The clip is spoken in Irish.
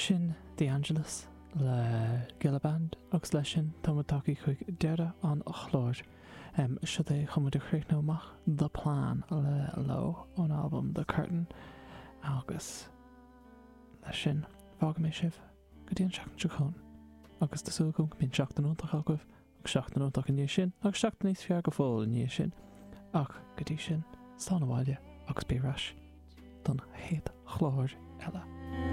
Sin The Angelus le Gilla Band agus leis sin tá muid tagtha chuig deireadh an chláir. Seo é chun muid a chríochnú amach The Plan le Low ón albam The Curtain agus leis sin fágfaidh mé sibh go dtí an seachtain seo chugainn agus tá súil agam go mbíonn seachtain iontach agaibh agus seachtain iontach i ndiaidh sin agus seachtain níos fearr go fóill i ndiaidh sin ach go dtí sin slán abhaile agus bí ar ais don chéad chlár eile.